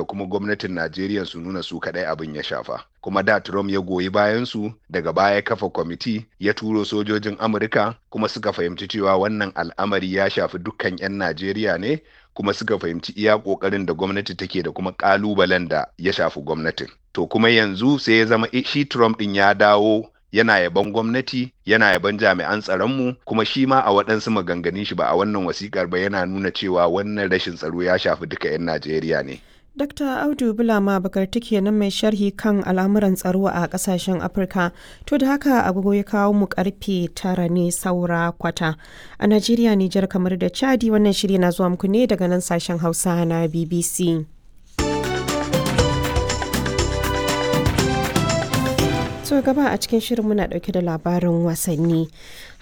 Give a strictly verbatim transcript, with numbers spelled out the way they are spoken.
da kuma gwamnatin Najeriya su nuna su kaɗai abin ya shafa. Kuma da Trump ya goyi bayan su, daga baya kafa kwamiti ya turo sojojin Amurka, kuma suka fahimci cewa wannan al'amari ya shafi dukkan 'yan Najeriya ne, kuma suka fahimci iya ƙoƙarin da gwamnati take da kuma ƙalubalen da ya shafi gwamnatin. To kuma yanzu sai ya zama shi Trump ɗin ya dawo yana yaban gwamnati, yana yaban jami'an tsaronmu, kuma shi ma a waɗansu maganganun shi ba a wannan wasikar ba yana nuna cewa wannan rashin tsaro ya shafi duka 'yan Najeriya ne. Dakta Audu Bulama Bakarti kenan, mai sharhi kan al'amuran tsaro a kasashen Afirka. To da haka agogo ya kawo mu karfe tara ne saura kwata. A Najeriya, Nijar, kamar da Chadi, wannan shiri na zuwa muku ne daga nan sashen Hausa na B B C. So gaba a cikin shirin muna dauke da labarin wasanni. Har